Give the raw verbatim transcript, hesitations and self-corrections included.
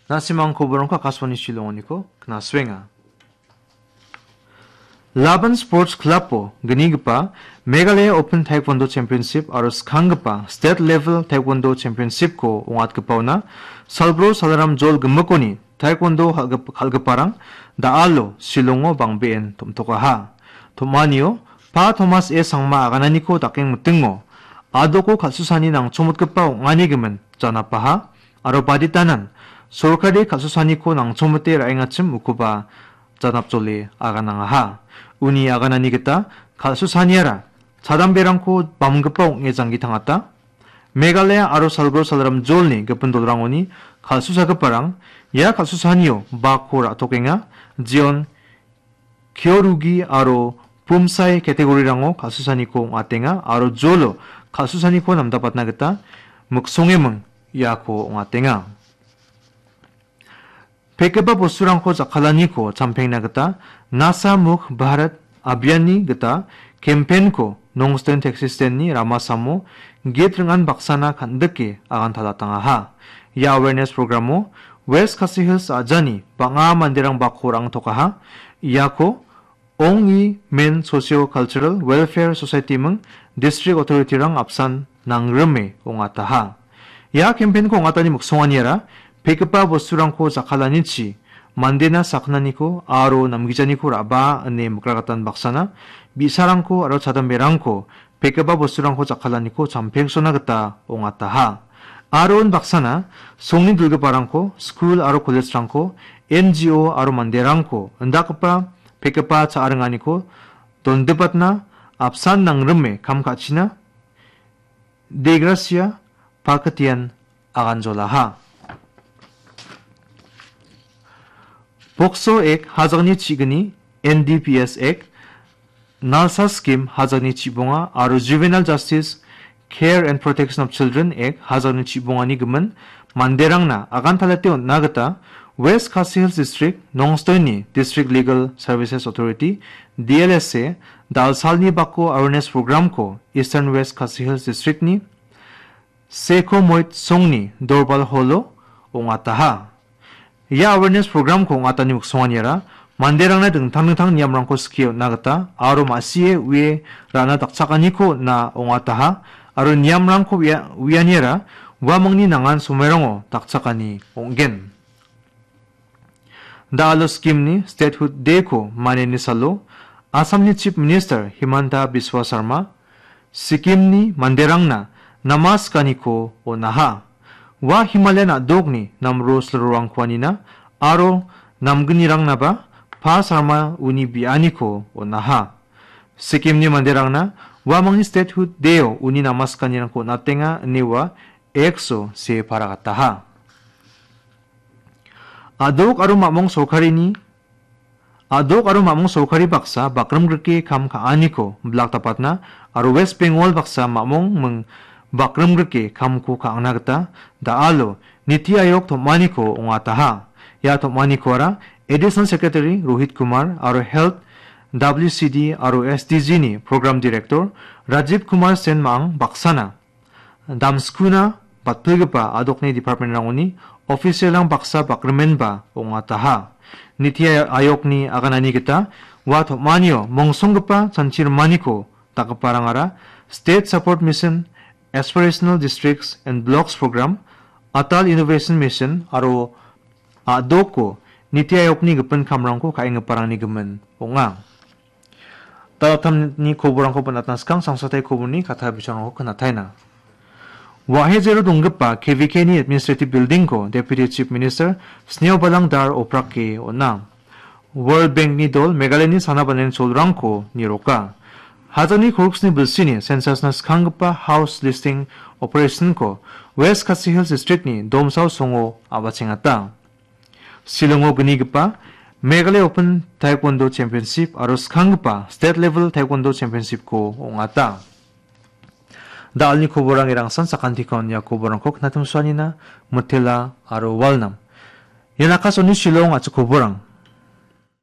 Na·simang koborangko Akashvani Shillongoniko knaswenga. Laban Sports Club-o gnigipa Meghalaya Open Taekwondo Championship aro skanggipa State Level Taekwondo Championship-ko ong·atgipaona Salbro Salaram Jol Gimikoni Taekwondo kal·gip-, kal·giparang da·alo Shillongo bang·been tom·tokaha. Tom·anio Pa Thomas A Sangma agananiko dakeng mitingo adoko kal·susani nangchomotgipa ong·ani gimin janapaha aro baditanan sorkari kal·susaniko nangchomote ra·engachim ukoba janapjole aganangaha. Uni aganani gita kal·susaniara chadamberangko bamgipa ong·e janggi tangata. Meghalaya aro Salbro Salaram Jolni gipin dolrangoni kal·susagiparang ia kal·susanio bakko ra·tokenga, jeon Kyorugi aro Pumsai category-rango kal·susaniko ong·atenga aro jolo kal·susaniko namdapatna gita miksongeming iako ong·atenga. Pekgipa bosturangko jakkalaniko champengna gita Nasha Mukt Bharat Abhiyan-ni gita campaign-ko Nongstoin taxi stand-ni ramasamo git ring·an baksana kan·dike agantalatangaha. Ia awareness program-o West Khasi Hills a·jani bang·a manderang bakko ra·angtokaha. Iako Ong-i Men Socio Cultural Welfare Society ming District Authority-rang apsan nangrime ong·ataha. Ia campaign-ko ong·atani miksonganiara pekgipa bosturangko jakkalanichi mandena sakgnaniko aro namgijaniko ra·baa ine mikragatan baksana bi·sarangko aro chadamberangko pekgipa bosturangko jakkalaniko champeksona gita ong·ataha. Aro unbaksana songni dilgiparangko, skul aro college-rangko, N G O aro manderangko indakgipa pekgipa cha·ringaniko dondipatna apsan nangrime kam ka·china Degracia Pakitian aganjolaha. Pokso Act hajangni chigni, N D P S Act, Nalsa Scheme hajangni chibonga aro Juvenile Justice Care and Protection of Children Act hajangni chibongani gimin manderangna agantalate on·na gita West Khasi Hills District Nongstoini District Legal Services Authority, D L S A, dalsalni bako awareness program-ko Eastern West Khasi Hills District-ni Seko Moit Songni Dorbal Hall-o ong·ataha. Ia awareness program-ko ong·atani miksonganiara manderangna dingtang dingtang niamrangko skie on·na gita aro ma·sie ue ra·na dakchakaniko on·na ong·ataha aro niamrangko uia-, uianiara uamangni nangan somoirango dakchakani ong·gen. Da·alo Sikimni Statehood Day-ko maniani salo Assamni Chief Minister Himanta Biswa Sarma Sikimni manderangna namaskaniko on·aha. Ua Himalayan a·dokni namro silrorangko anina aro namgnirangnaba Pa Sarma uni bianiko on·aha. Sikimni manderangna uamangni Statehood Day-o uni namaskanirangko on·atenga ine ua X-o see paragataha. A·dok aro mamung sorkarini, a·dok aro mamung sorkari baksa bakrimgrike kam ka·aniko bilak dapatna aro West Bengal baksa mamung ming bakrimgrike kamko ka·angna gita da·alo Niti Ayog tom·aniko ong·ataha. Ia tom·anikoara Additional Secretary Rohit Kumar aro Health, W C D aro S D G-ni Program Director Rajiv Kumar Sen ma·ang baksana damskuna batpilgipa a·dokni department-rangoni official-rang baksa bakrimenba ong·ataha. Niti Ayogni aganani gita ua tom·anio mongsonggipa chanchi rimaniko dakgiparangara State Support Mission, Aspirational Districts and Blocks Program, Atal Innovation Mission aro a·doko Niti Ayogni gipin kamrangko ka·enggiparangni gimin ong·a. Dal·attamni koborangko bonatna skang sangsatai koborni katta bisingrangko knataina. Wahejero donggipa K V K-ni Administrative Building-ko Deputy Chief Minister Sneobalang Dhar Oprake on·a. World Bank-ni dol Meghalayani sana banani cholrangko niroka. Hajani korksni bilsini census-na skanggipa house listing operation-ko West Khasi Hills District-ni Domsao songo a·bachengata. Shillongo gnigipa Meghalaya Open Taekwondo Championship aro skanggipa State Level Taekwondo Championship-ko ong·ata. Da·alni koborang erangsan sakantikon ia koborangko knatimsuanina mitela aro walnam. Ian Akashvani Shillong a·chik koborang.